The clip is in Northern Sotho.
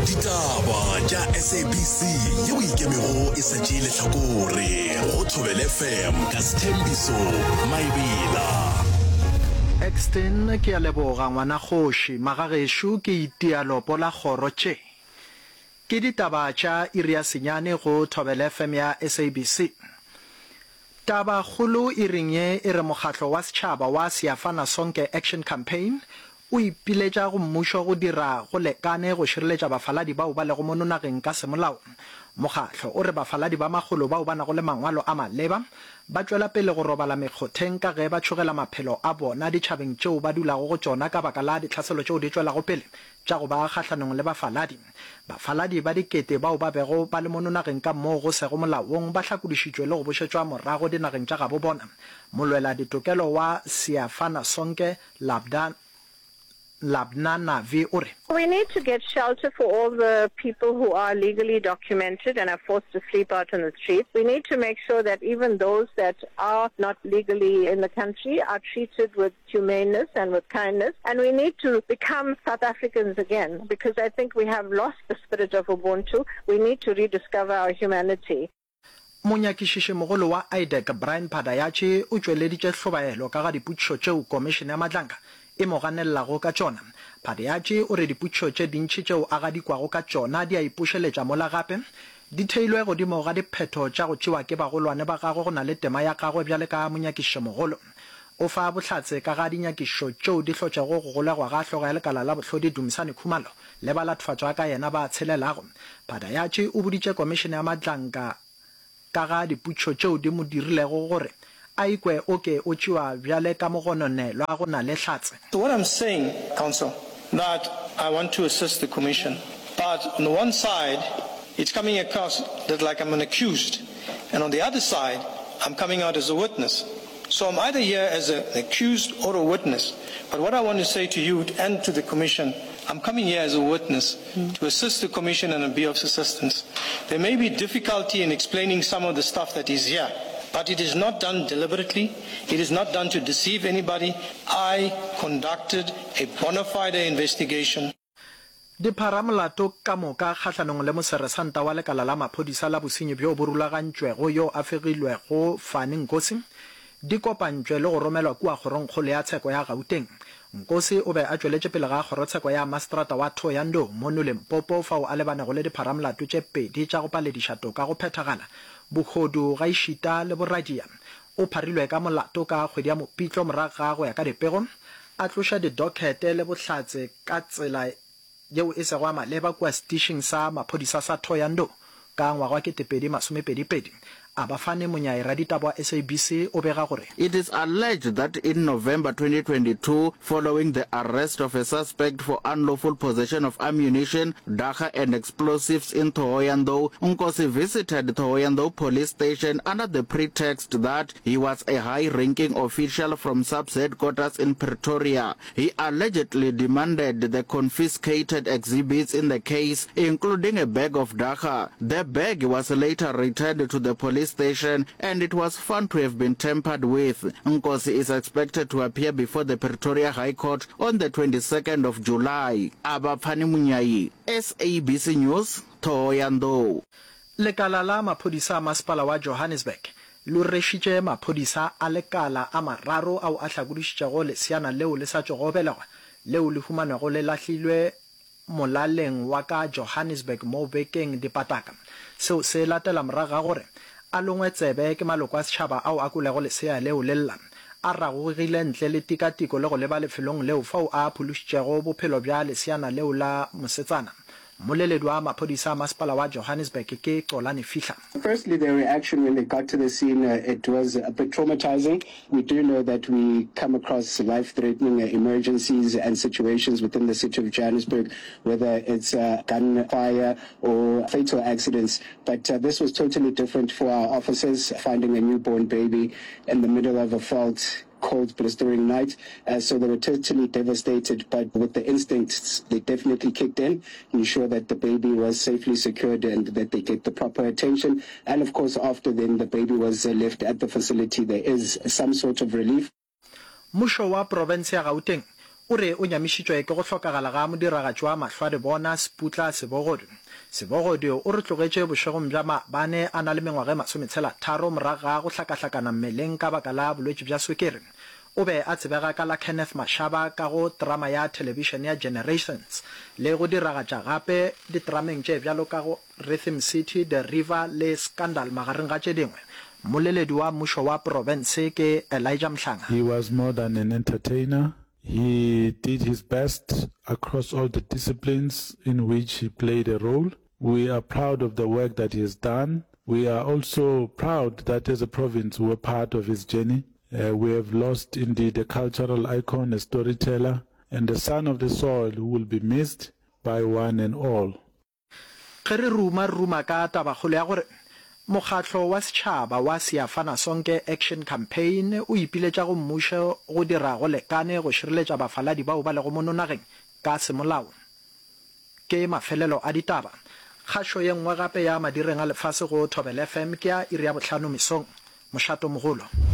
Ditaba tša SABC yeo e ikemego e sa tšee lehlakore go Thobela FM ka Sthembiso Maebela. Exton, Ke a leboga ngwana kgoši. Magagešo ke itia lopo la kgoro tše. Ke ditaba tša iri ya senyane go Thobela FM ya SABC. Taba kgolo iring ye e re mokgatlo wa setšhaba wa Siyafana Sonke Action Campaign o ipiletša go mmušo go dira go lekane go šireletša bafaladi bao ba lego mono nageng ka semolao. Mokgatlo o re bafaladi ba makgolo bao ba nago le mangwalo a maleba ba tšwela pele go robala mekgotheng ka ge ba tšhogela maphelo a bona ditšhabeng tšeo ba dulago go tšona ka baka la ditlhaselo tšeo di tšwelago pele tša go ba kgahlanong le bafaladi. Bafaladi ba dikete bao ba bego ba le mono nageng ka moo go sego molaong ba hlakodišitšwe le go bošetšwa morago dinageng tša gabo bona. Molweladitokelo wa Siyafana Sonke Labda Labna Navi o re. We need to get shelter for all the people who are legally documented and are forced to sleep out on the streets. We need to make sure that even those that are not legally in the country are treated with humaneness and with kindness. And we need to become South Africans again because I think we have lost the spirit of Ubuntu. We need to rediscover our humanity. Monyakišišimogolo wa IDAC Brian Padayachee o tšweleditše hlobaelo ka ga dipotšišo tšeo Komišene ya Madlanga e mo ganelelago ka tšona. Padayachee o re dipotšišo tše dintši tšeo a gadikwago ka tšona di a ipošeletša mola gape di theilwe godimo ga diphetho tša go tšewa ke bagolwane ba gagwe go na le tema ya gagwe bjale ka monyakišišomogolo. O fa bohlatse ka ga dinyakišišo tšeo di hlotšego go golegwa ga hlogo ya lekala la bohlodi Dumisani Khumalo le balatfatšwa ka yena ba tshelelago. Padayatši o boditše Komišene ya Madlanka ka ga diputšo tšeo di mo dirilego gore a ikwe o ke o tšewa bjale ka mogononelwa go na le hlatse. So what I'm saying, Counsel, that I want to assist the Commission, but on the one side, it's coming across that like I'm an accused, and on the other side, I'm coming out as a witness. So I'm either here as an accused or a witness. But what I want to say to you and to the Commission, I'm coming here as a witness mm. to assist the Commission and be of assistance. There may be difficulty in explaining some of the stuff that is here, but it is not done deliberately. It is not done to deceive anybody. I conducted a bona fide investigation. Dipharamolato ka moka kgahlanong le moseresanta wa lekala la maphodisa la bosenyi bjo bo rulagantšwego yo a fegilwego Fani Nkosi di kopantšwe le go romelwa kua Kgorongkgolo ya Tsheko ya Gauteng. Nkosi o be a tšweletše pele ga kgorotsheko ya maseterata wa Thohoyandou mono Limpopo fao a lebanego le dipharamolato tše pedi tša go palediša toka go phethagala, bohodu gaešita le boradia. O pharilwe ka molato ka kgwedi ya Mopitlo morago ga go ya ka dipego a tloša didokhete le bohlatse ka tsela yeo e sego ya maleba kua setišing sa maphodisa sa Thohoyandou ka ngwaga wa 2022. Abafane Monyai raditaba wa SABC o bega gore. It is alleged that in November 2022, following the arrest of a suspect for unlawful possession of ammunition, dagga and explosives in Thohoyandou, Nkosi visited Thohoyandou police station under the pretext that he was a high-ranking official from SAPS headquarters in Pretoria. He allegedly demanded the confiscated exhibits in the case, including a bag of dagga. The bag was later returned to the police station and it was found to have been tampered with. Nkosi is expected to appear before the Pretoria High Court on the 22nd of July. Abapfani Munyai, SABC News, Thohoyandou. Lekala la maphodisa a masepala wa Johannesburg le rwešitše maphodisa a lekala a mararo ao a hlakodišitšego leseana leo le sa tšogo belegwa leo le humanwego le lahlilwe molaleng wa ka Johannesburg mo bekeng dipataka. Seo se latela morago ga gore a longwe tsebe ke maloko a setšhaba ao a kwelego lesea leo le lla. A ragogile ntle le tikatiko le go leba lefelong leo fao a phološitšego bophelo bja leseana leo la mosetsana. Mmoleledi wa maphodisa a masepala wa Johannesburg ke Xolani Fihla. Firstly, their reaction when they got to the scene, it was a bit traumatizing. We do know that we come across life-threatening emergencies and situations within the city of Johannesburg, whether it's gunfire or fatal accidents. But this was totally different for our officers, finding a newborn baby in the middle of a fault cold, blistering night. Uh, so they were totally devastated, but with the instincts, they definitely kicked in, ensure that the baby was safely secured and that they get the proper attention. And of course, after then the baby was uh, left at the facility, there is some sort of relief. Mmušo wa profense ya Gauteng o re o nyamišitšwe ke go hlokagala ga modiragatši wa mahlwadibona Seputla Sebogodi. Sebogodi o re tlogetše bošegong bja maabane a na le mengwaga e masometshela-tharo morago ga go hlakahlakana mmeleng ka baka la bolwetši bja swikiri. O be a tsebega ka la Kenneth Mashaba ka go terama ya thelebišene ya Generations le go diragatša gape diterameng tše bjalo ka go Rhythm City, The River le Scandal magareng ga tše dingwe. Mmoleledi wa mmušo wa profense ke Elijah Mhlanga. He was more than an entertainer, he did his best across all the disciplines in which he played a role. We are proud of the work that he has done. We are also proud that as a province we were part of his journey. Uh, we have lost indeed a cultural icon, a storyteller, and a son of the soil who will be missed by one and all. Ge re ruma, re ruma ka tabakgolo ya gore mokgatlo wa setšhaba wa Siyafana Sonke Action Campaign o ipiletša go mmušo go dira go lekane go šireletša bafaladi bao ba lego mono nageng ka semolao. Ke mafelelo a ditaba. Kgašo ye nngwe gape ya madireng a lefase go Thobela FM ke ya iri ya bohlano mesong. Mošato mogolo.